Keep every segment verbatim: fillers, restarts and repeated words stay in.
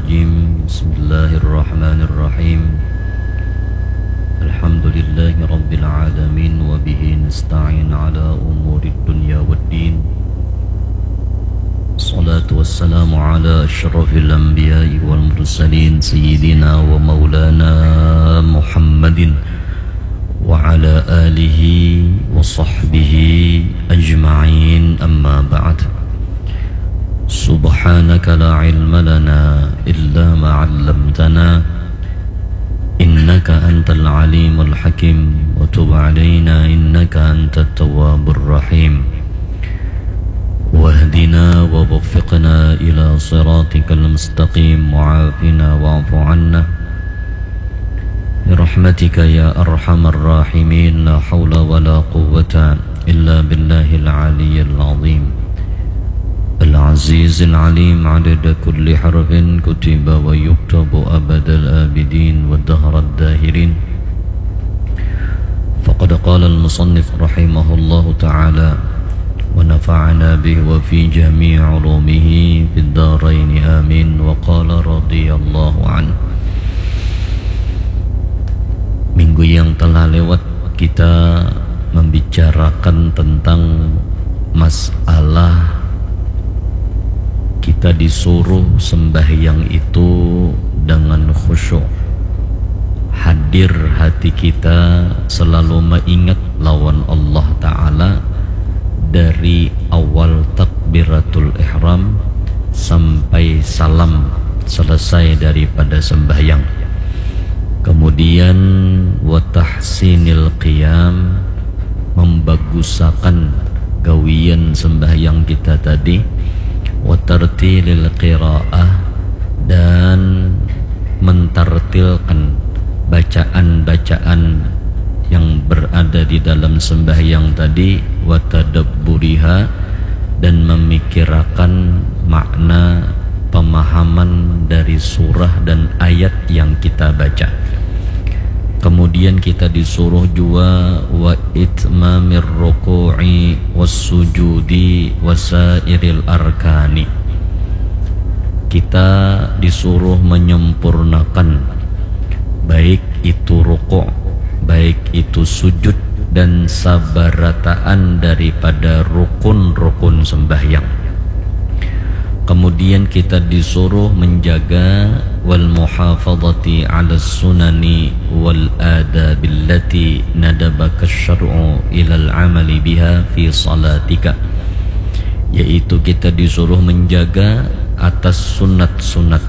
الرجيم. بسم الله الرحمن الرحيم. الحمد لله رب العالمين، وبه نستعين على أمور الدنيا والدين. الصلاة والسلام على أشرف الأنبياء والمرسلين، سيدنا ومولانا محمد وعلى آله وصحبه أجمعين، أما بعد. سبحانك لا علم لنا إلا ما علمتنا، إنك أنت العليم الحكيم، وتب علينا إنك أنت التواب الرحيم، واهدنا ووفقنا إلى صراطك المستقيم، وعافنا واعف عنا برحمتك يا أرحم الراحمين. لا حول ولا قوة إلا بالله العلي العظيم العزيز العليم، عدد كل حرف كتب ويكتب أبد الآبدين ودهر الداهرين. فقد قال المصنف رحمه الله تعالى، ونفعنا به وفي جميع علومه في الدارين، آمين. وقال رضي الله عنه. Minggu yang telah lewat kita membicarakan tentang masalah kita disuruh sembahyang itu dengan khusyuk. Hadir hati kita selalu mengingat lawan Allah Ta'ala dari awal takbiratul ihram sampai salam selesai daripada sembahyang. Kemudian, wa tahsinil qiyam, membagusakan gawian sembahyang kita tadi, wa tartilil qiraah, dan mentartilkan bacaan-bacaan yang berada di dalam sembahyang tadi, wa tadabburiha, dan memikirakan makna pemahaman dari surah dan ayat yang kita baca. Kemudian kita disuruh jua wa itmamir ruku'i was sujudi wasairil arkani. Kita disuruh menyempurnakan baik itu rukuk, baik itu sujud, dan sabarataan daripada rukun-rukun sembahyang. Kemudian kita disuruh menjaga wal muhafadhati ala sunani wal adabillati nadabaka syar'u ilal amali biha fi salatika, yaitu kita disuruh menjaga atas sunat-sunat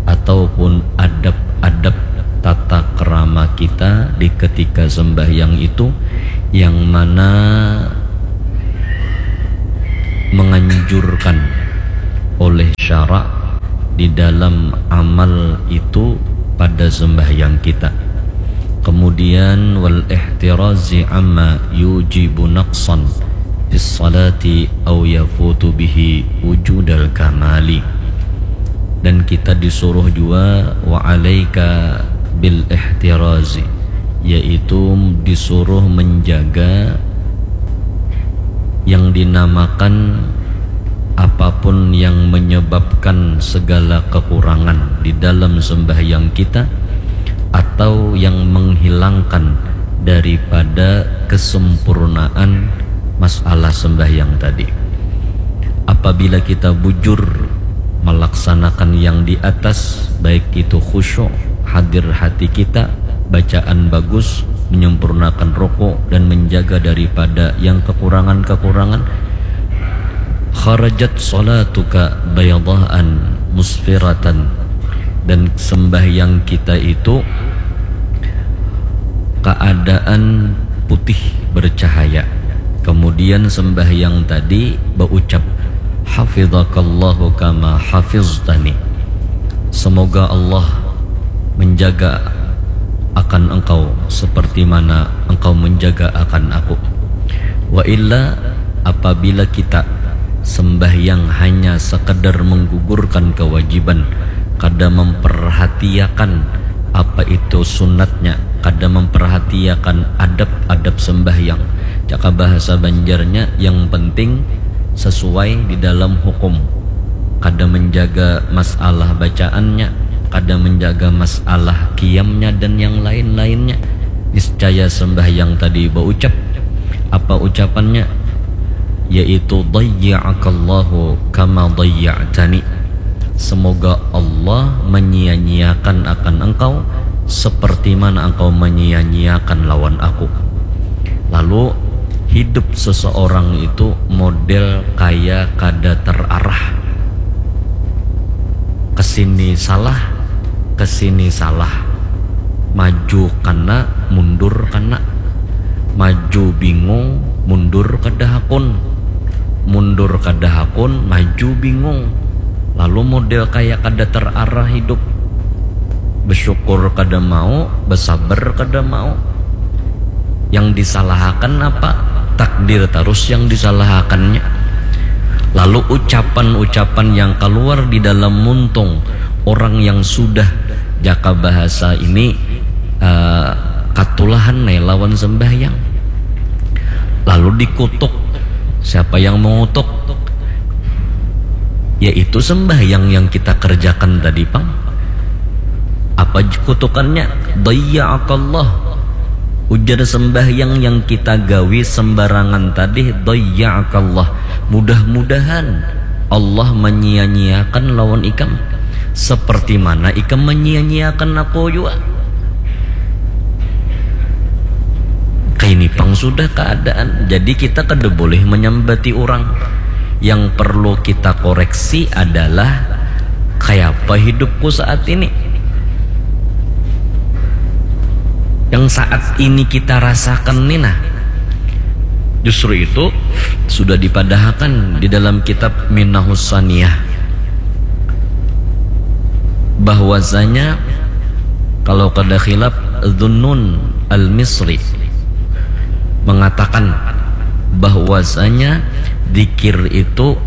ataupun adab-adab tata kerama kita di ketika sembahyang itu, yang mana menganjurkan oleh syarak di dalam amal itu pada sembahyang kita. Kemudian, wal ihtirazi amma yujibu naqsan fis salati au yafutu bihi wujudal kamali. Dan kita disuruh jua wa alaika bil ihtirazi, yaitu disuruh menjaga yang dinamakan apapun yang menyebabkan segala kekurangan di dalam sembahyang kita atau yang menghilangkan daripada kesempurnaan masalah sembahyang tadi. Apabila kita bujur melaksanakan yang di atas, baik itu khusyuk, hadir hati kita, bacaan bagus, menyempurnakan rukuk, dan menjaga daripada yang kekurangan-kekurangan, kharajat salatuka bayadaan musfiratan, dan sembahyang kita itu keadaan putih bercahaya. Kemudian sembahyang tadi berucap, "Hafidhakallahu kama hafiztani." Semoga Allah menjaga akan engkau seperti mana engkau menjaga akan aku. Wa illa, apabila kita sembahyang hanya sekadar menggugurkan kewajiban, kada memperhatiakan apa itu sunatnya, kada memperhatiakan adab-adab sembahyang. Caka bahasa Banjarnya, yang penting sesuai di dalam hukum. kada menjaga masalah bacaannya, kada menjaga masalah qiyamnya dan yang lain-lainnya, niscaya sembahyang tadi baucap. Apa ucapannya? Yaitu, "Dayya'akallahu kama dayya'tani." Semoga Allah menyia-nyiakan akan engkau seperti mana engkau menyia-nyiakan lawan aku. Lalu, hidup seseorang itu model kaya kada terarah. Kesini salah, kesini salah. Maju kana, mundur kana. Maju bingung, mundur kada hakun. Mundur kada hakun, maju bingung. Lalu model kaya kada terarah hidup. Bersyukur kada mau, bersabar kada mau. Yang disalahakan apa? Takdir terus yang disalahakannya. Lalu ucapan-ucapan yang keluar di dalam muntung orang yang sudah, jaka bahasa ini, eh, katulahan nai lawan sembahyang. Lalu dikutuk. Siapa yang mengutuk? Yaitu sembahyang yang kita kerjakan tadi, pang. Apa j-, kutukannya? Dayya'akallah. Ujar sembahyang yang kita gawi sembarangan tadi, dayya'akallah. Mudah-mudahan Allah menyia-nyiakan lawan ikam. Seperti mana ikam menyia-nyiakan aku jua. Kaini pang sudah keadaan. Jadi kita kada boleh menyambati orang. Yang perlu kita koreksi adalah kayapa hidupku saat ini. Yang saat ini kita rasakan ni nah. Justru itu sudah dipadahakan di dalam kitab Minahus Saniyah. Bahwasanya kalau kada khilaf, Zunnun Al-Misri mengatakan bahwasanya zikir itu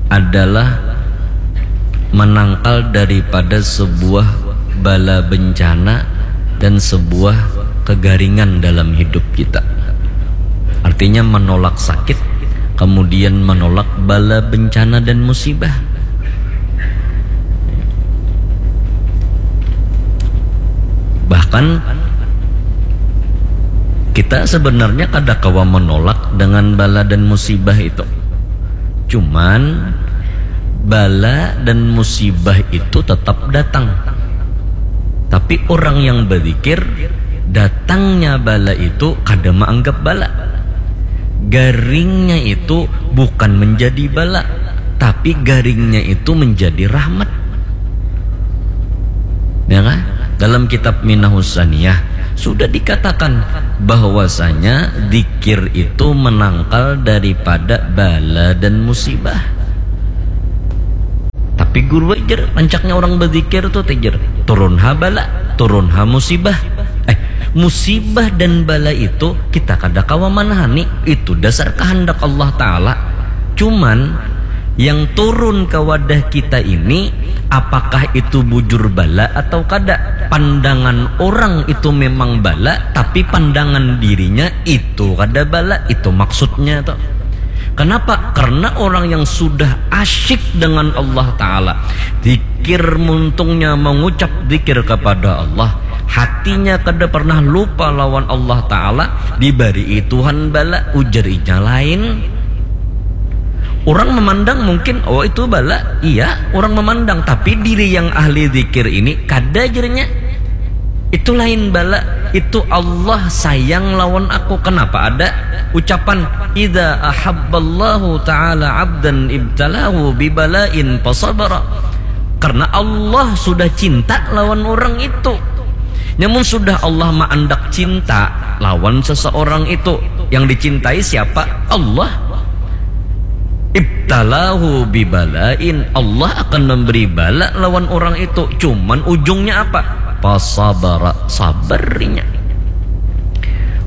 adalah menangkal daripada sebuah bala bencana dan sebuah kegaringan dalam hidup kita. Artinya menolak sakit, kemudian menolak bala bencana dan musibah. Bahkan kita sebenarnya kada kawa menolak dengan bala dan musibah itu. Cuman bala dan musibah itu tetap datang. Tapi orang yang berzikir, datangnya bala itu kada menganggap bala. Garingnya itu bukan menjadi bala, tapi garingnya itu menjadi rahmat. Ya kan? Dalam kitab Minahus Saniyah sudah dikatakan bahwasanya zikir itu menangkal daripada bala dan musibah. Tapi guru ajar, rancaknya orang berzikir tuh tejar, turun ha bala, turun ha musibah. Eh, musibah dan bala itu kita kada kawa manahani, itu dasar kehendak Allah Ta'ala. Cuman yang turun ke wadah kita ini, apakah itu bujur bala atau kada? Pandangan orang itu memang bala, tapi pandangan dirinya itu kada bala, itu maksudnya tuh. Kenapa? Karena orang yang sudah asyik dengan Allah Ta'ala, zikir muntungnya mengucap zikir kepada Allah, hatinya kada pernah lupa lawan Allah Ta'ala, dibari Tuhan bala, ujar inya lain. Orang memandang mungkin, oh itu bala, iya orang memandang, tapi diri yang ahli zikir ini kada, jarnya. Itu lain bala, itu Allah sayang lawan aku. Kenapa ada ucapan, "Idza ahabballahu ta'ala abdan ibtalahu bibalain fasabara." Karena Allah sudah cinta lawan orang itu. Namun sudah Allah maandak cinta lawan seseorang itu, yang dicintai siapa? Allah. Ibtalahu bibalain, Allah akan memberi bala lawan orang itu. Cuman ujungnya apa? Fasabara, sabar inya.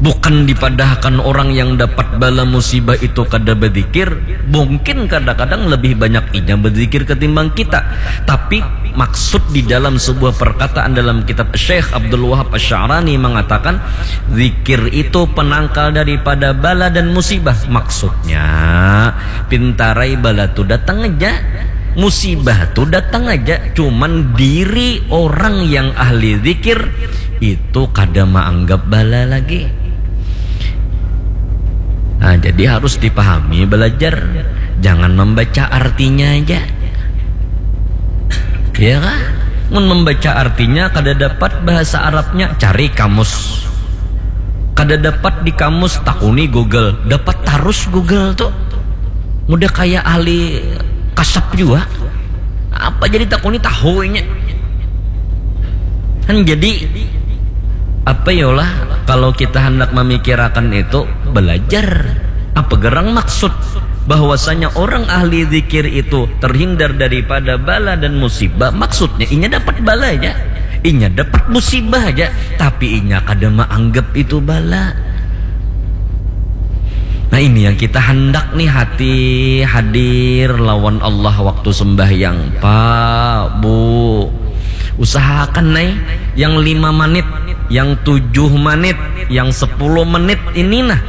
Bukan dipadahkan orang yang dapat bala musibah itu kada berzikir, mungkin kadang-kadang lebih banyak inya berzikir ketimbang kita. Tapi maksud di dalam sebuah perkataan dalam kitab Syekh Abdul Wahab Asy-Sya'rani mengatakan, zikir itu penangkal daripada bala dan musibah. Maksudnya, pintarai bala tu datang aja. Musibah tu datang aja, cuman diri orang yang ahli zikir itu kada maanggap bala lagi. Nah, jadi harus dipahami belajar, jangan membaca artinya aja. Ya kah? Mun membaca artinya kada dapat bahasa Arabnya, cari kamus. Kada dapat di kamus, takuni Google. Dapat tarus Google tu. Mudah kaya ahli kasap jua. Apa jadi takuni tahu inya. Kan jadi apa yolah kalau kita hendak memikirakan itu belajar apa gerang maksud bahwasanya orang ahli zikir itu terhindar daripada bala dan musibah, maksudnya inya dapat bala aja, inya dapat musibah aja, tapi inya kada maanggap itu bala. Nah, ini yang kita hendak nih, hati hadir lawan Allah waktu sembahyang. Pak, Bu, usahakan nih yang lima menit, yang tujuh menit, yang sepuluh menit ini nah,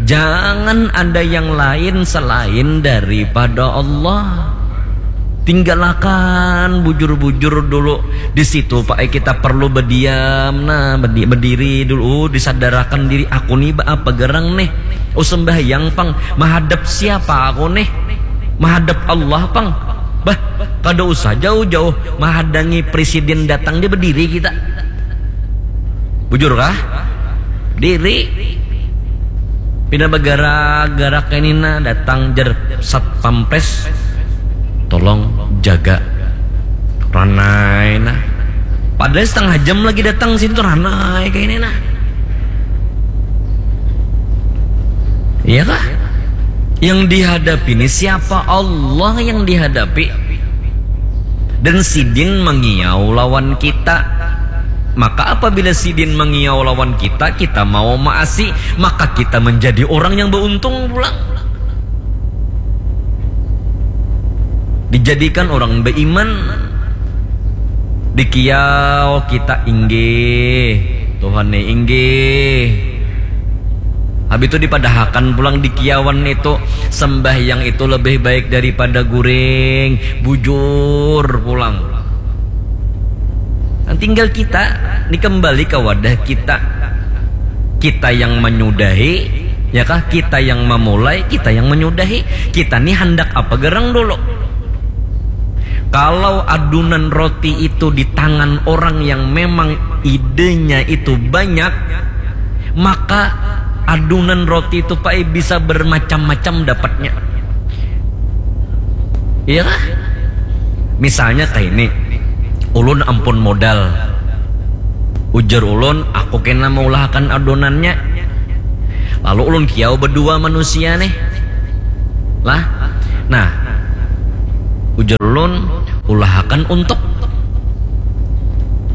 jangan ada yang lain selain daripada Allah. Tinggalakan bujur-bujur dulu. Di situ, Pak, eh, kita perlu berdiam, nah, bedi- berdiri dulu, disadarakan diri, aku nih ba- apa gerang nih. Oh, sembahyang pang, mahadap siapa aku nih? Mahadap Allah pang. Bah, kada usah jauh-jauh mahadangi presiden datang, dia berdiri kita. Bujur kah? Diri. Pina bagarak-garak ini nah, datang jer satpampres, tolong jaga. Ranai nah. Padahal setengah jam lagi datang sini tuh, ranai kayak ini nah. Iya kah? Yang dihadapi ini siapa? Allah yang dihadapi. Dan sidin mengiau lawan kita. Maka apabila sidin mengiau lawan kita, kita mau maasi, maka kita menjadi orang yang beruntung pulang. Dijadikan orang beriman, dikiau kita, inggih, Tuhan nih, inggih. Habis itu dipadahakan pulang dikiawan itu, sembahyang itu lebih baik daripada guring, bujur pulang. Nah, tinggal kita, ini kembali ke wadah kita. Kita yang menyudahi, ya kah? Kita yang memulai, kita yang menyudahi. Kita nih hendak apa gerang dulu? Kalau adunan roti itu di tangan orang yang memang idenya itu banyak, maka adunan roti itu, Pak, bisa bermacam-macam dapatnya. Iya kah? Misalnya kayak ini, ulun ampun modal. Ujar ulun, aku kena mengulahkan adonannya. Lalu ulun kiau berdua manusia nih. Lah, nah, ujar ulun, ulahakan untuk.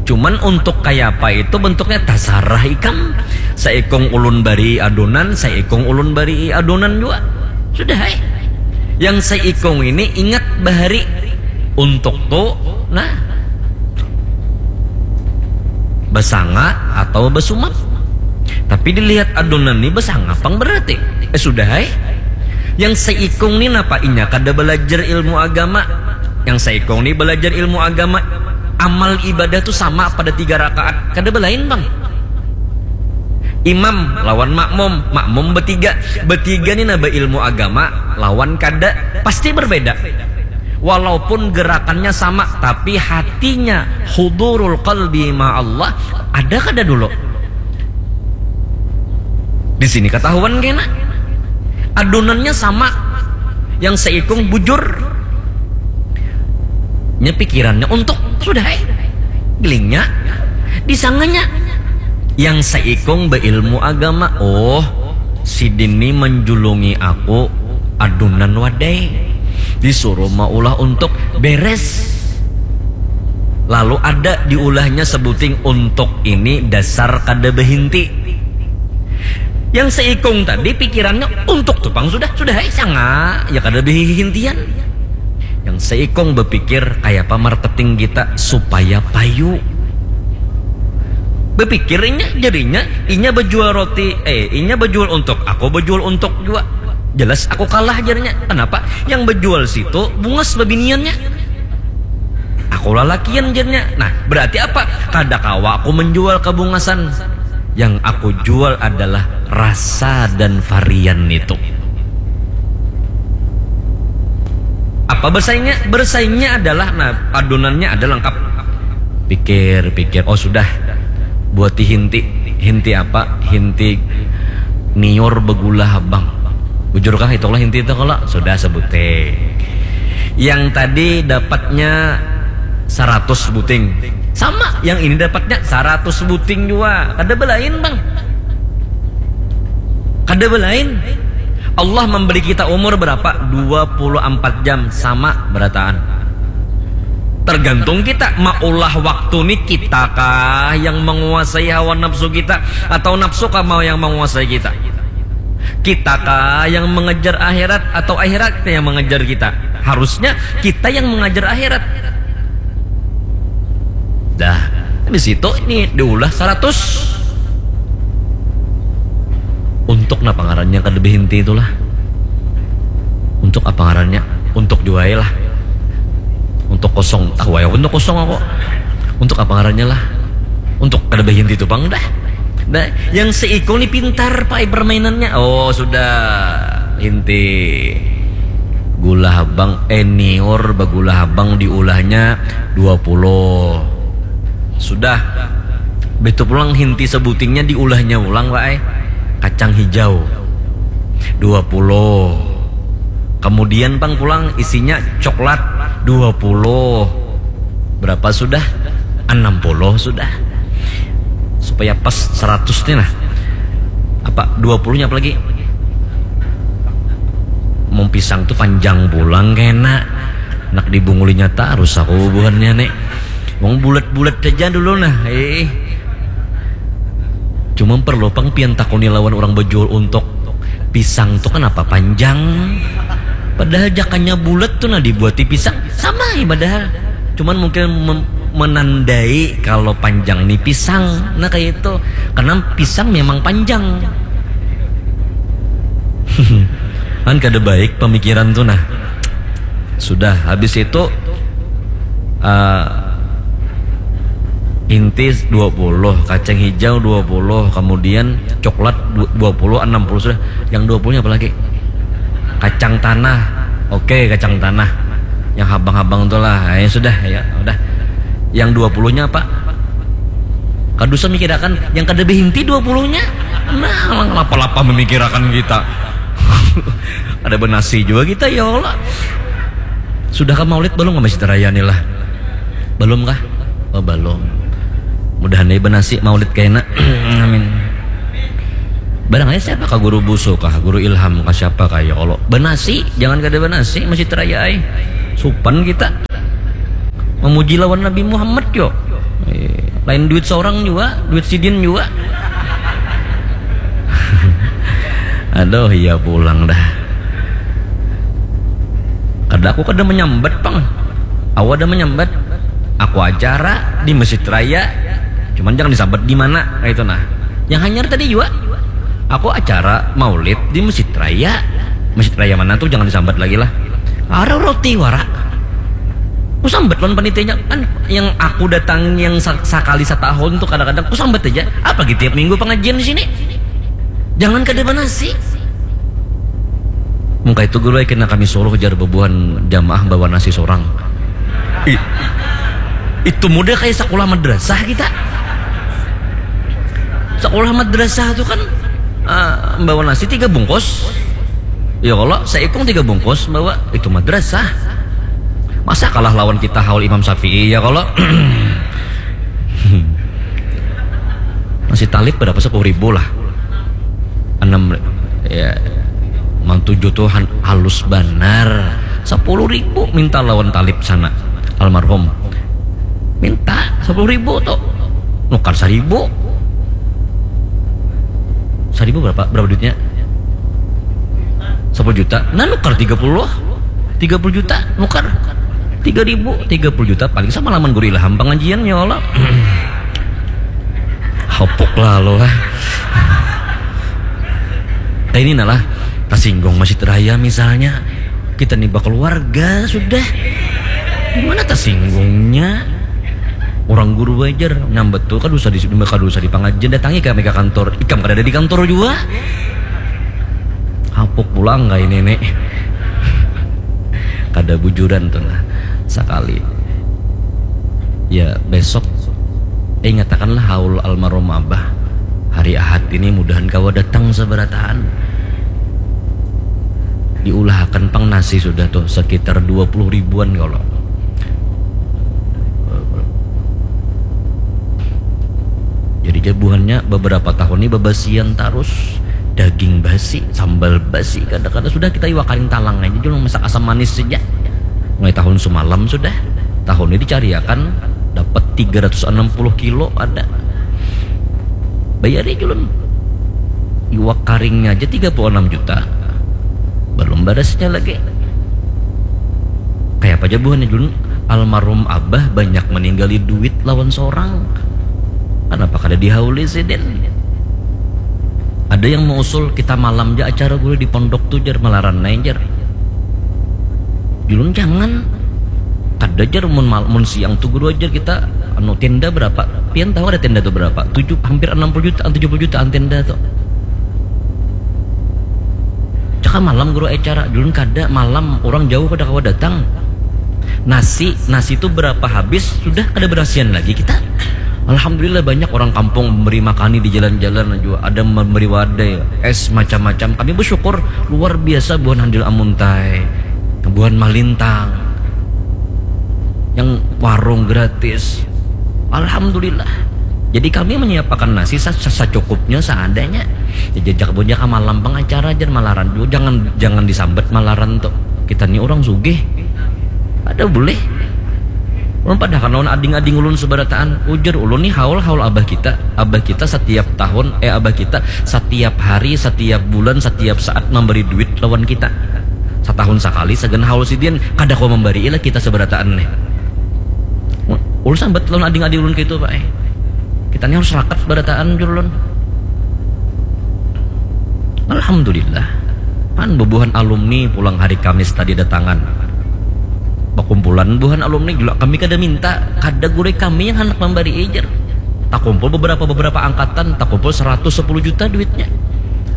Cuman untuk kaya apa itu bentuknya, tasarah ikam. Saikung ulun bari adonan, saikung ulun bari adonan juga. Sudah, hai. Yang saikung ini ingat bahari untuk tu, nah, basanga atau basumap. Tapi dilihat adonan ni basanga pang berarti. Eh, sudah, hai. Yang saikung ni napa inya kada belajar ilmu agama? Yang saikung ni belajar ilmu agama. Amal ibadah tu sama pada tiga rakaat. Kada belain pang. Imam lawan makmum, makmum betiga. Betiga ni naba ilmu agama lawan kada, pasti berbeda. Walaupun gerakannya sama, tapi hatinya hudurul qalbi ma Allah, ada kada dulu? Di sini ketahuan kena. Adonannya sama. Yang saikung bujur. Nya pikirannya untuk, sudah, eh. Gelingnya, disanganya. Yang saikung beilmu agama, oh, sidin ni menjulungi aku adunan wadai. Disuruh maulah untuk beres. Lalu ada diulahnya sebuting untuk ini dasar kada behinti. Yang seikung tadi pikirannya untuk tu pang sudah, sudah, hai, sanga, ya kada behihintian. Yang seikung bepikir kayapa marketing kita supaya payu. Bepikir inya, jadinya inya bejual roti, eh, inya bejual untuk, aku bejual untuk juga. Jelas aku kalah, jarnya. Kenapa? Yang bejual situ bungas bebiniannya. Aku lalakian, jarnya. Nah, berarti apa? Kada kawa aku menjual kebungasan. Yang aku jual adalah rasa dan varian itu. Apa bersaingnya? Bersaingnya adalah, nah, adonannya ada lengkap. Pikir-pikir, oh sudah. Buati hinti. Hinti apa? Hinti niur begula habang. Bujurkah itulah hinti itu kalau? Sudah sebuting. Yang tadi dapatnya seratus buting. Sama, yang ini dapatnya seratus buting juga. Kada belain, Bang. Kada belain. Allah memberi kita umur berapa? Dua puluh empat jam, sama berataan. Tergantung kita maulah waktu nih, kita kah yang menguasai hawa nafsu kita atau nafsu kah mau yang menguasai kita? Kita kah yang mengejar akhirat atau akhirat yang mengejar kita? Harusnya kita yang mengejar akhirat. Dah, di situ ini diulah seratus. Untuk napa ngarannya kada behinti itulah? Untuk apa ngarannya? Untuk juai lah. Untuk kosong, tahu ya untuk kosong aku. Untuk apa ngarannya lah? Untuk kada behinti itu bang dah. Nah, yang seikung ni pintar pakai permainannya. Oh sudah, inti gula habang, eh niur begula habang diulahnya dua puluh. Sudah. Begitu pulang hinti sebutingnya diulahnya ulang, Pak, eh. Kacang hijau dua puluh. Kemudian pang pulang isinya coklat dua puluh. Berapa sudah? Enam puluh sudah. Supaya pas seratus nih nah. Apa dua puluhnya apa lagi? Mau pisang tuh panjang pulang kena. Nak dibungulinya tarus aku buhannya nih. Wong bulat-bulat aja dulu nah. Eh. Cuma perlu pang pian takuni lawan orang bejual untuk pisang tuh kenapa panjang? Padahal jakannya bulat tuh nah dibuati pisang sama ya padahal. Cuman mungkin mem- menandai kalau panjang nih pisang. Nah kayak itu. Karena pisang memang panjang. Kan kada baik pemikiran tuh nah. Sudah habis itu uh, intis dua puluh, kacang hijau dua puluh, kemudian coklat du- dua puluh, enam puluh sudah. Yang dua puluh nya apa lagi? Kacang tanah. Oke, kacang tanah. Yang habang-habang tuh lah. Ya sudah, ya udah. Yang dua puluh nya apa? Kada usah mikirakan yang kada behinti dua puluh nya. Nah, lapa-lapa memikirakan kita. Ada benasi juga kita ya Allah. Sudah ke maulid belum ke Masjid Raya nih lah? Belum kah? Oh belum. Mudahan nih benasi maulid kena. Amin. Barang aja siapa kah guru busu kah, guru ilham kah, siapa kah ya Allah? Benasi, jangan kada benasi Masjid Raya ai. Supan kita. Memuji lawan Nabi Muhammad yo. Eh, lain duit seorang juga, duit sidin juga. Aduh, iya pulang dah. Kada aku kada menyambat pang. Aku ada menyambat. Aku acara di masjid raya. Cuman jangan disambat di mana kayak itu nah. Yang hanyar tadi juga. Aku acara maulid di masjid raya. Masjid raya mana tuh jangan disambat lagi lah. Ada roti wara. Ku sambat lawan panitianya kan yang aku datang yang sa- sakali setahun tuh kadang-kadang ku sambat aja. Apalagi tiap minggu pengajian di sini. Jangan kada banasi. Mungkin itu guru kena kami suruh jar bebuhan jamaah bawa nasi seorang. I- itu mudah kayak sekolah madrasah kita. Sekolah madrasah tuh kan uh, bawa nasi tiga bungkus. Ya kalau seikung tiga bungkus bawa itu madrasah. Masa kalah lawan kita haul Imam Syafi'i ya kalau masih talib berapa sepuluh ribu lah. Enam ya mang tujuh tuh halus benar sepuluh ribu minta lawan talib sana almarhum minta sepuluh ribu tuh nukar seribu seribu berapa berapa duitnya sepuluh juta nah nukar tiga puluh tiga puluh juta nukar tiga ribu tiga puluh juta paling sama laman guru ilham pengajian ya Allah hopuk lah lo lah kayak ini nah lah Tasinggung masjid raya misalnya, kita ni bakeluarga sudah. Dimana tasinggungnya? Orang guru wajar nyambat tu kada usah di kada usah di pangajian, datangi kami ke kantor. Ikam kada ada di kantor juga. Hapuk pulang kayak nenek. Kada bujuran tuh lah sekali. Ya besok, eh, ingatakanlah haul almarhum abah. Hari Ahad ini mudahan kawa datang sabarataan. Diulahakan pang nasi sudah tuh sekitar dua puluh ribuan kalau. Jadi jabuhannya beberapa tahun ini babasian tarus, daging basi, sambal basi, kada-kada sudah kita iwak karing talang aja dulu masak asam manis saja. Mulai tahun semalam sudah, tahun ini dicariakan dapat tiga ratus enam puluh kilo ada. Bayari julun. Iwak karingnya aja tiga puluh enam juta. Belum barasnya lagi. Kayak apa aja buhannya julun? Almarhum abah banyak meninggali duit lawan seorang. Kenapa kada dihauli sidin? Ada yang mengusul kita malam ja acara guru di pondok tu jar, malaran nai jar. Julun jangan. Kada jar mun, mun siang tu guru ajar kita anu tenda berapa? Pian tahu ada tenda tu berapa? Tujuh, hampir enam puluh jutaan, tujuh puluh jutaan tenda tu. Cakap malam guru acara, julun kada malam, orang jauh kada kawa datang. Nasi, nasi tu berapa habis sudah kada berasian lagi kita. Alhamdulillah banyak orang kampung memberi makani di jalan-jalan juga, ada memberi wadai, es macam-macam. Kami bersyukur luar biasa buhan handil amuntai, buhan malintang, yang warung gratis. Alhamdulillah. Jadi kami menyiapkan nasi sacukupnya, seadanya. Jajak bunyi ka malam pengacara jar malaran juga, jangan jangan disambat malaran tuh. Kita nih orang sugih. Ada boleh. Ulun padahakan lawan ading-ading ulun seberataan, ujar ulun nih haul-haul abah kita. Abah kita setiap tahun, eh, abah kita setiap hari, setiap bulan, setiap saat memberi duit lawan kita. Setahun sekali sagan haul sidin, kada kau memberi ilah kita seberataan nih. Ulun sambat lawan ading-ading ulun gitu pak eh. Kita nih harus rakat seberataan jur ulun. Alhamdulillah. Kan bebuhan alumni pulang hari Kamis tadi datangan. Bakumpulan buhan alumni juga kami kada minta, kada gurih kami yang hendak membari ijar. Takumpul beberapa-beberapa angkatan, takumpul seratus sepuluh juta duitnya.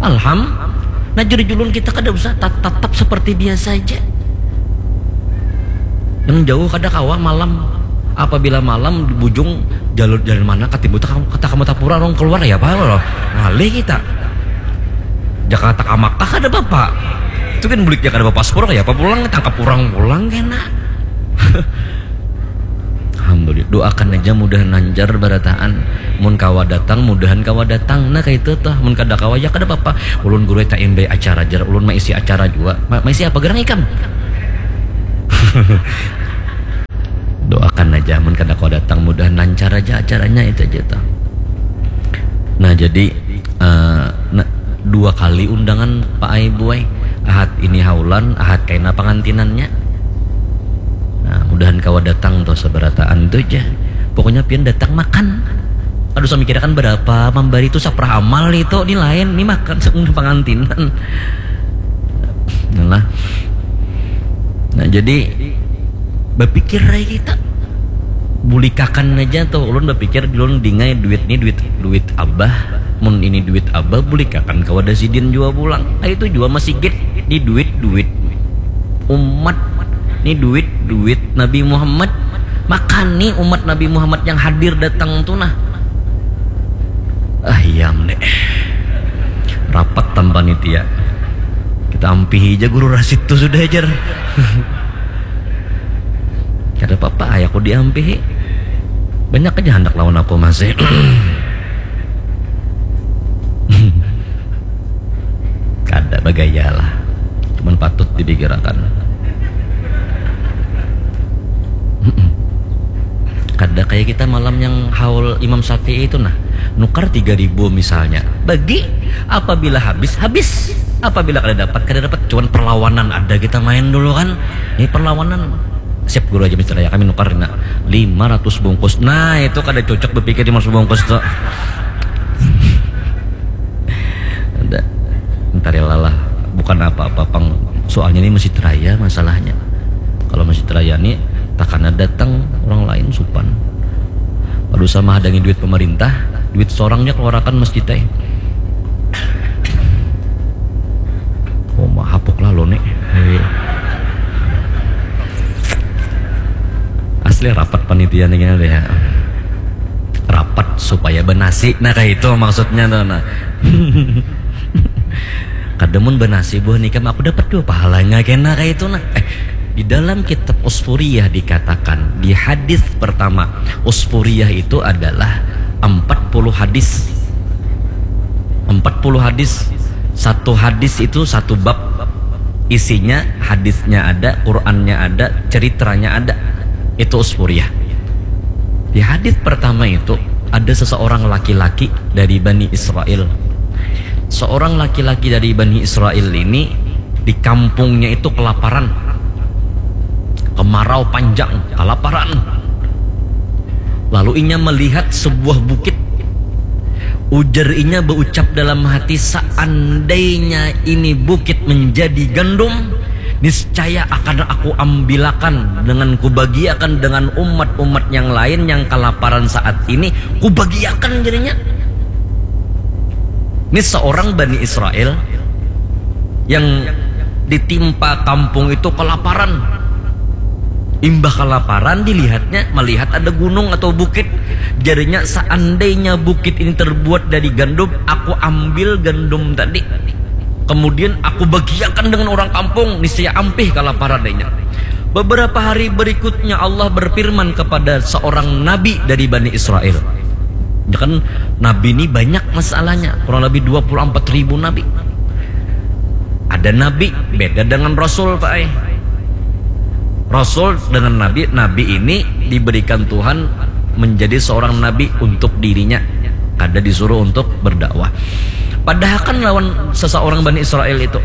Alham, nah jadi julun kita kada usah, tatap seperti biasa aja. Yang jauh kada kawa malam. Apabila malam di bujung jalur jalan mana katimbul kata kamu tapura orang keluar ya apa loh. Ngalih kita. Jakarta ka Makkah kada apa-apa. Itu kan bulik kada bapaspor ya apa pulang tangkap orang pulang kena. Alhamdulillah, doakan aja mudah lancar barataan. Mun kawa datang, mudahan kawa datang. Nah kayak itu tuh, mun kada kawa ya kada apa-apa. Ulun guru tak imbai acara jar, ulun maisi acara juga. Ma maisi apa gerang ikam? Doakan aja mun kada kawa datang, mudahan lancar aja acaranya itu aja tuh. Nah jadi uh, nah, dua kali undangan Pak Ai buai. Ahad ini haulan, ahad kaina pangantinannya. Nah, mudahan kawa datang tuh seberataan tuh aja. Pokoknya pian datang makan. Aduh, saya mikirkan berapa memberi itu saprah amal itu, ini lain, ini makan seumur pangantinan. Nah, nah jadi berpikir aja kita bulikakan aja tuh ulun berpikir ulun dingai duit nih duit duit abah mun ini duit abah bulikakan kawa sidin jua pulang nah, itu jua masigit di duit duit umat nih duit duit Nabi Muhammad makan nih umat Nabi Muhammad yang hadir datang tuh nah ah iya nih rapat tanpa nitia kita ampihi aja guru Rasid tuh sudah ajar Kada apa-apa, ayahku diampihi. Banyak aja handak lawan aku masih. Kada bagaya lah. Cuman patut dipikirakan. Kada kayak kita malam yang haul Imam Syafi'i itu nah. Nukar tiga ribu misalnya. Bagi apabila habis habis. Apabila kada dapat kada dapat. Cuman perlawanan ada kita main dulu kan. Ini perlawanan. Siap guru aja mister ya kami nukar na lima ratus bungkus nah itu kada cocok berpikir lima ratus bungkus tuh ada ntar ya lalah buka Pan apa-apa pang, soalnya ini masjid raya masalahnya. Kalau masjid raya ni takana datang orang lain supan. Kada usah mahadangi duit pemerintah, duit sorangnya keluarakan masjid ai. Oh, mahapuk lah lo nih. Asli rapat panitia nih ya. Rapat supaya benasi. Nah, kayak itu maksudnya tuh. Nah. Kada mun benasi buah nikam aku dapat dua pahalanya kena kayak itu nah. Eh, di dalam kitab Usfuriyah dikatakan di hadis pertama, Usfuriyah itu adalah empat puluh hadis. Empat puluh hadis. Satu hadis itu satu bab. Isinya hadisnya ada, Qurannya ada, ceritanya ada. Itu Usfuriyah. Di hadis pertama itu ada seseorang laki-laki dari Bani Israel. Seorang laki-laki dari Bani Israel ini di kampungnya itu kelaparan. Kemarau panjang, kelaparan. Lalu inya melihat sebuah bukit. Ujar inya berucap dalam hati, seandainya ini bukit menjadi gandum, niscaya akan aku ambilakan dengan kubagiakan dengan umat-umat yang lain yang kelaparan saat ini, kubagiakan jadinya. Ini seorang Bani Israel yang ditimpa kampung itu kelaparan. Imbah kelaparan dilihatnya, melihat ada gunung atau bukit. Jadinya seandainya bukit ini terbuat dari gandum, aku ambil gandum tadi. Kemudian aku bagiakan dengan orang kampung, niscaya ampih kalaparan daynya. Beberapa hari berikutnya Allah berfirman kepada seorang nabi dari Bani Israel. Ya kan, nabi ini banyak masalahnya, kurang lebih dua puluh empat ribu nabi. Ada nabi beda dengan rasul, Pak ai. Rasul dengan nabi, nabi ini diberikan Tuhan menjadi seorang nabi untuk dirinya, kada disuruh untuk berdakwah. Padahakan lawan seseorang Bani Israel itu.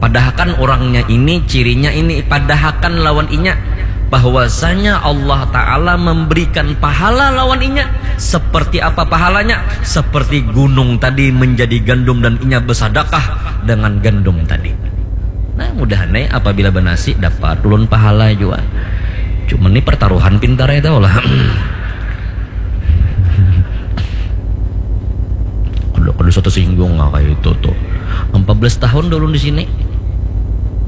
Padahakan orangnya ini, cirinya ini, padahakan lawan inya bahwasanya Allah Ta'ala memberikan pahala lawan inya. Seperti apa pahalanya? Seperti gunung tadi menjadi gandum dan inya bersadakah dengan gandum tadi. Nah, mudahan nih apabila benasi dapat ulun pahala juga. Cuman nih pertaruhan pintar ya tau lah. Kudu kudu satu singgung lah kayak itu tuh. Empat belas tahun dulu di sini.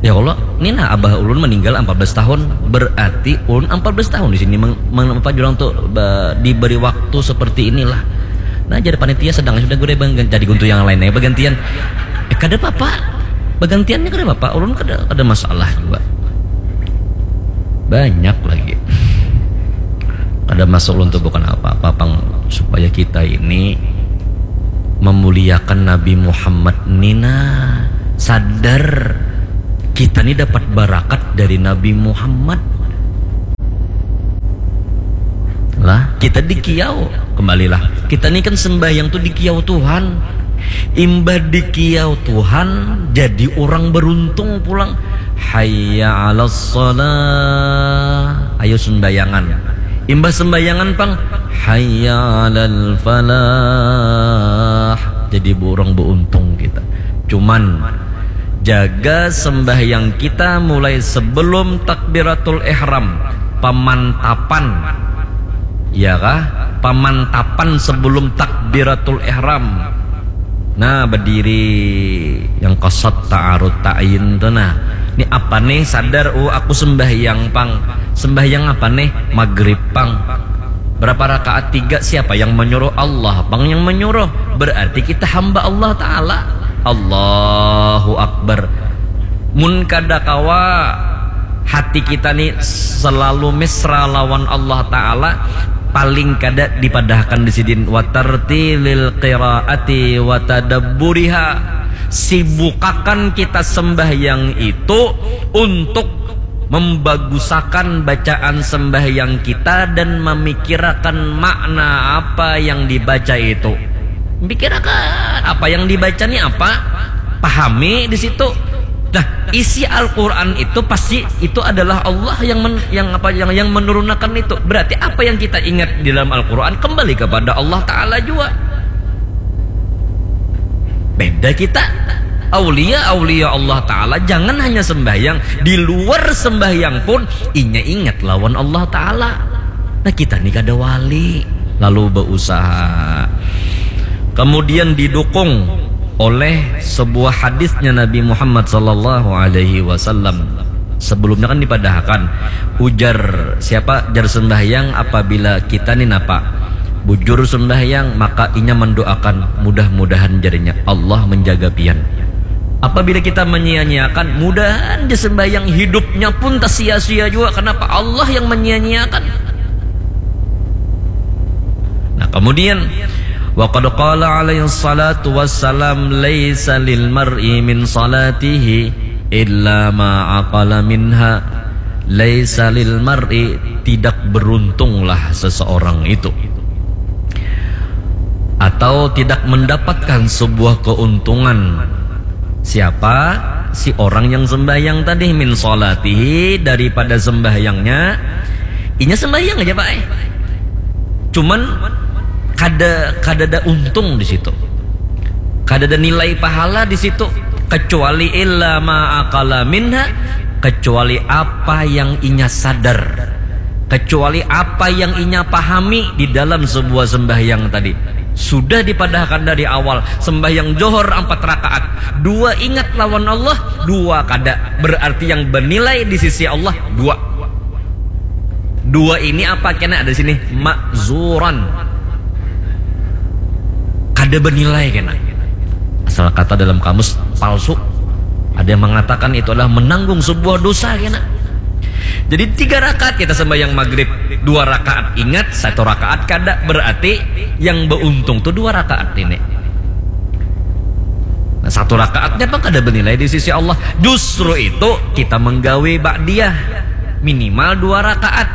Ya Allah, ini nah abah ulun meninggal empat belas tahun. Berarti ulun empat belas tahun di sini meng, meng, apa jurang tuh ba, diberi waktu seperti inilah. Nah, jadi panitia sedang sudah gue bang, jadi guntu yang lain ya bergantian. Eh, kada apa-apa. Bergantiannya kada apa-apa. Ulun kada ada masalah juga. Banyak lagi. Kada masuk ulun tuh bukan apa-apa pang supaya kita ini memuliakan Nabi Muhammad nina sadar kita ni dapat barakat dari Nabi Muhammad. Lah, kita dikiau. Kembalilah. Kita ni kan sembahyang tuh dikiau Tuhan. Imbah dikiau Tuhan, jadi orang beruntung pulang. Hayya 'alas shalah. Ayo sembayangan. Imbah sembayangan pang, hayya 'alal falah. Jadi orang beruntung kita. Cuman jaga sembahyang kita mulai sebelum takbiratul ihram, pemantapan. Ya kah? Pemantapan sebelum takbiratul ihram. Nah, berdiri yang kasat ta'arud ta'yin tuh nah. Ini apa nih? Sadar, oh aku sembahyang pang. Sembahyang apa nih? Maghrib pang. Berapa rakaat? Tiga. Siapa yang menyuruh? Allah pang yang menyuruh. Berarti kita hamba Allah Ta'ala. Allahu Akbar. Mun kada kawa hati kita ni selalu mesra lawan Allah Ta'ala, paling kada dipadahakan di sidin watartilil qiraati watadabburiha. Sibukakan kita sembahyang itu untuk membagusakan bacaan sembahyang kita dan memikirakan makna apa yang dibaca itu. Pikirakan apa yang dibaca ni apa, pahami di situ. Nah, isi Al-Quran itu pasti itu adalah Allah yang men, yang apa yang yang menurunkan itu. Berarti apa yang kita ingat di dalam Al-Quran kembali kepada Allah Ta'ala juga. Beda kita. Aulia-aulia Allah Ta'ala jangan hanya sembahyang, di luar sembahyang pun inya ingat lawan Allah Ta'ala. Nah, kita ni kada wali, lalu berusaha. Kemudian didukung oleh sebuah hadisnya Nabi Muhammad sallallahu alaihi wasallam. Sebelumnya kan dipadahakan, ujar siapa, jar sembahyang, apabila kita ni napa bujur sembahyang, maka inya mendoakan, mudah-mudahan jarinya Allah menjaga pian. Apabila kita menyia-nyiakan, mudahan di sembahyang hidupnya pun tersia-sia juga. Kenapa? Allah yang menyia-nyiakan. Nah, kemudian, wa qad qala alaihi salatu wassalam, laisa lil mar'i min salatihi illa ma aqala minha. Laisa lil mar'i, tidak beruntunglah seseorang itu, atau tidak mendapatkan sebuah keuntungan. Siapa? Si orang yang sembahyang tadi, min salatihi, daripada sembahyangnya. Inya sembahyang aja, Pak, eh. Cuman kada, kada ada untung di situ. Kada ada nilai pahala di situ, kecuali illa ma aqala minha, kecuali apa yang inya sadar, kecuali apa yang inya pahami di dalam sebuah sembahyang tadi. Sudah dipadahakan dari awal, sembahyang johor ampat rakaat, dua ingat lawan Allah, dua kada. Berarti yang bernilai di sisi Allah dua. Dua ini apa kena ada sini? Makzuran. Kada bernilai kena. Asal kata dalam kamus, palsu. Ada yang mengatakan itu adalah menanggung sebuah dosa kena. Jadi tiga rakaat kita sembahyang maghrib, dua rakaat ingat, satu rakaat kada, berarti yang beruntung tuh dua rakaat ini. Nah, satu rakaatnya apa kada bernilai di sisi Allah. Justru itu kita menggawe ba'diyah minimal dua rakaat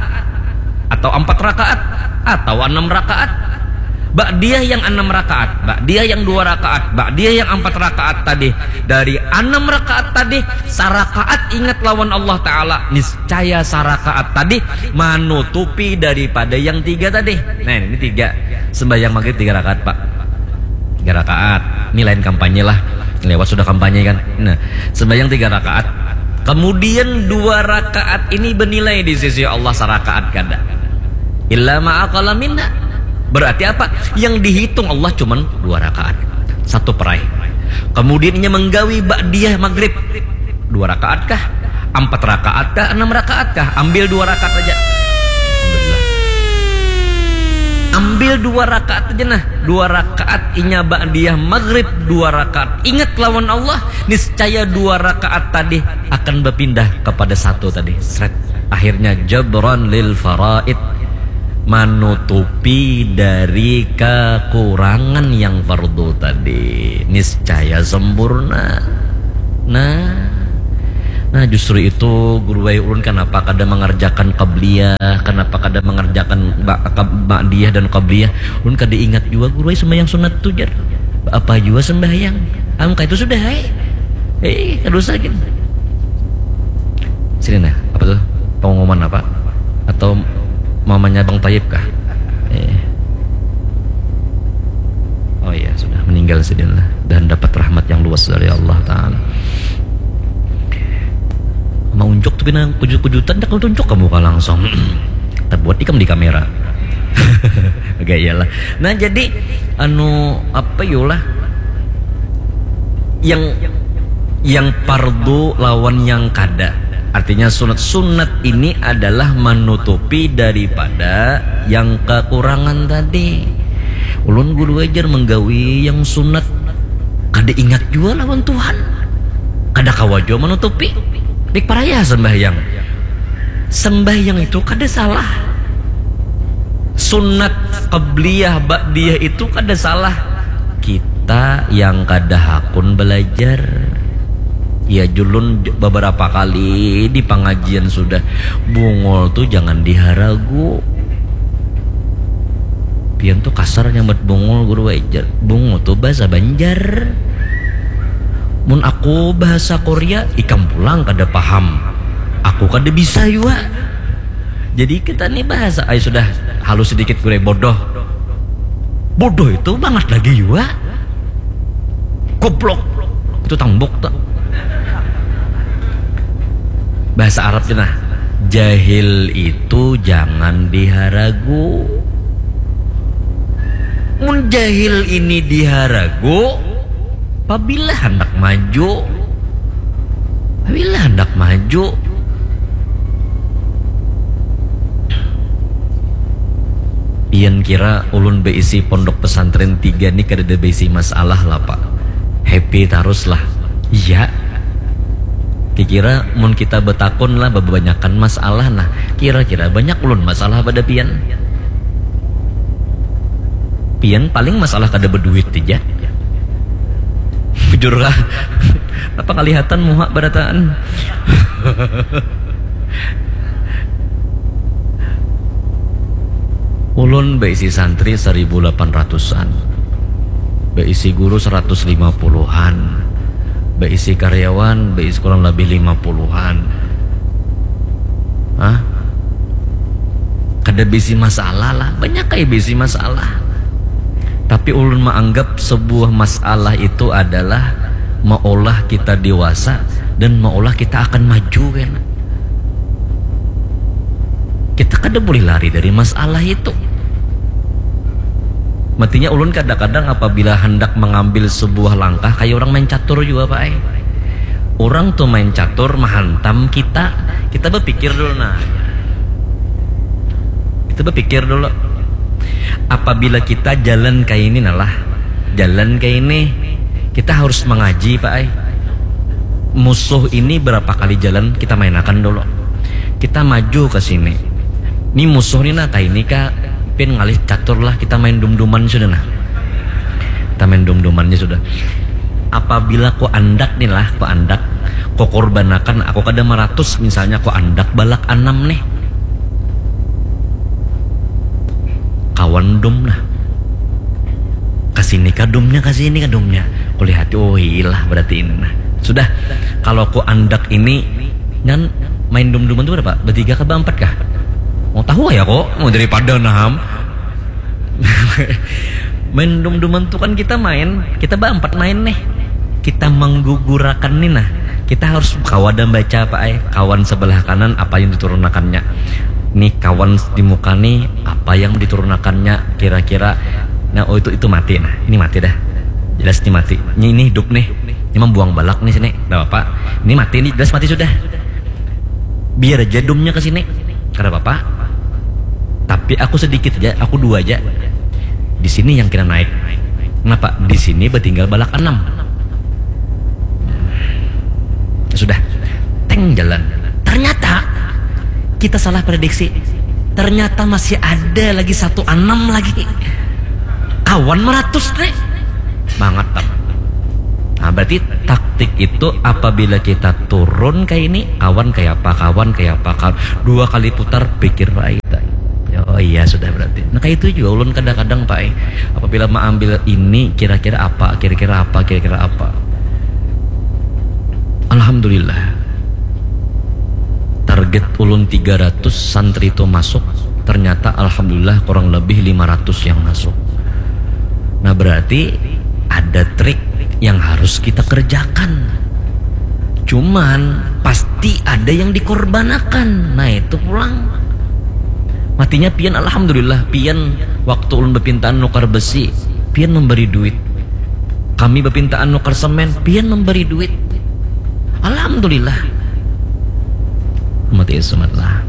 atau empat rakaat atau enam rakaat. Ba'diyah yang enam rakaat, ba'diyah yang dua rakaat, ba'diyah yang empat rakaat tadi, dari enam rakaat tadi, sarakaat ingat lawan Allah Ta'ala, niscaya sarakaat tadi manutupi daripada yang tiga tadi. Nah, ini tiga. Sembahyang maghrib tiga rakaat, Pak. Tiga rakaat. Ini lain kampanye lah. Lewat sudah kampanye kan. Nah, sembahyang tiga rakaat. Kemudian dua rakaat ini bernilai di sisi Allah sarakaat kada. Illa ma aqala minha. Berarti apa? Yang dihitung Allah cuman dua rakaat. Satu perai. Kemudian inya menggawi ba'diyah maghrib. Dua rakaat kah? Empat rakaat kah? Enam rakaat kah? Ambil dua rakaat aja. Alhamdulillah. Ambil dua rakaat aja nah. Dua rakaat inya ba'diyah maghrib, dua rakaat ingat lawan Allah, niscaya dua rakaat tadi akan berpindah kepada satu tadi. Sret. Akhirnya jabran lil faraid, manutupi dari kekurangan yang fardu tadi. Niscaya sempurna. Nah, nah justru itu guru ai ulun kenapa kada mengerjakan qabliyah, kenapa kada mengerjakan ba- kab- ba'diyah dan qabliyah. Ulun kada ingat juga guru ai sembahyang sunat tu jar. Apa juga sembahyang? Am kayak itu sudah ai. Eh, kada usah gin. Sini nah, apa tuh? Pengumuman apa? Atau mamanya Bang Taib kah? Eh. Oh iya, sudah meninggal sidin lah dan dapat rahmat yang luas dari Allah Taala. Mau unjuk tuh pina kujut-kujutan dah kalau tunjuk kamu kah langsung. Terbuat ikam di kamera. Oke, iyalah. Nah, jadi anu apa yolah yang yang pardu lawan yang kada. Artinya sunat-sunat ini adalah menutupi daripada yang kekurangan tadi. Ulun guru ajar menggawi yang sunat kada ingat jua lawan Tuhan. Kada kawa jua menutupi. Dik paraya sembahyang. Sembahyang itu kada salah. Sunat qabliyah ba'diyah itu kada salah. Kita yang kada hakun belajar. Ya julun beberapa kali di pengajian sudah bungul tu jangan diharagu. Pian tu kasar nyambat bungul guru wajar. Bungul tu bahasa Banjar. Mun aku bahasa Korea, ikam pulang kada paham. Aku kada bisa jua. Jadi kita ni bahasa, ay sudah halus sedikit guru bodoh. Bodoh itu bangat lagi jua. Goblok. Itu tambuk tuh. Bahasa Arab tuh nah. Jahil itu jangan diharagu. Mun jahil ini diharagu, pabila hendak maju, pabila hendak maju, pian kira ulun beisi pondok pesantren tiga ni kadada beisi masalah lah, Pak? Happy tarus lah. Iya. Kikira mun kita betakun lah bebanyakan masalah, nah, kira-kira banyak ulun masalah pada pian? Pian paling masalah kada beduit aja. Bujur lah. Apa kelihatan muha berataan? Ulun beisi santri seribu lapan ratusan, beisi guru seratus lima puluhan, beisi karyawan, beisi kurang lebih lima puluhan. Hah? Kada bisi masalah lah, banyak kayak bisi masalah. Tapi ulun menganggap sebuah masalah itu adalah maulah kita dewasa dan maulah kita akan maju, kan? Kita kada boleh lari dari masalah itu. Matinya ulun kadang-kadang apabila hendak mengambil sebuah langkah kayak orang main catur juga, Pak, eh. Orang tuh main catur menghantam kita. Kita berpikir dulu, nah. Kita berpikir dulu. Apabila kita jalan kayak ini, nah lah, jalan kayak ini, kita harus mengaji, Pak, eh. Musuh ini berapa kali jalan kita mainakan dulu. Kita maju ke sini. Ini musuh nih, nah, kayak ini kak, pin ngalih catur lah, kita main dum-duman sudah, nah. Kita main dum-dumannya sudah. Apabila ku andak nih lah, ku andak, ku kurbanakan, aku kada maratus misalnya, ku andak balak anam nih. Kawan dum nah. Kasini kadumnya, kasini kadumnya. Kulihati, oh ilah berarti ini nah. Sudah, kalau ku andak ini, kan main dum-duman tuh berapa? Bertiga kah, berempat kah? Mau tahu ya kok, mau daripada naham. Main dum-duman tuh kan kita main, kita berempat main nih. Kita menggugurakan nih nah. Kita harus kawa dan baca apa, eh, kawan sebelah kanan apa yang diturunakannya. Nih kawan di muka nih apa yang diturunakannya kira-kira. Nah, oh itu itu mati nah. Ini mati dah. Jelas ini mati. Ini, ini hidup nih. Ini membuang balak nih sini. Nggak apa-apa. Ini mati nih, jelas mati sudah. Biar aja dumnya ke sini. Kada apa-apa. Tapi aku sedikit aja, aku dua aja. Di sini yang kena naik. Kenapa? Di sini bertinggal balak enam. Sudah. Teng jalan. Ternyata kita salah prediksi. Ternyata masih ada lagi satu enam lagi. Kawan meratus nih. Banget, Tam. Nah, berarti taktik itu apabila kita turun kayak ini, kawan kayak apa, kawan kayak apa, kawan. Dua kali putar, pikir baik. Oh iya, sudah berarti. Nah, kayak itu juga ulun kadang-kadang, Pak, eh. Apabila mengambil ini, kira-kira apa, kira-kira apa, kira-kira apa. Alhamdulillah. Target ulun tiga ratus santri itu masuk, ternyata alhamdulillah kurang lebih lima ratus yang masuk. Nah, berarti ada trik yang harus kita kerjakan. Cuman pasti ada yang dikorbankan. Nah, itu pulang. Matinya pian, alhamdulillah, pian waktu ulun berpintaan nukar besi, pian memberi duit. Kami berpintaan nukar semen, pian memberi duit. Alhamdulillah. Mati sumatlah.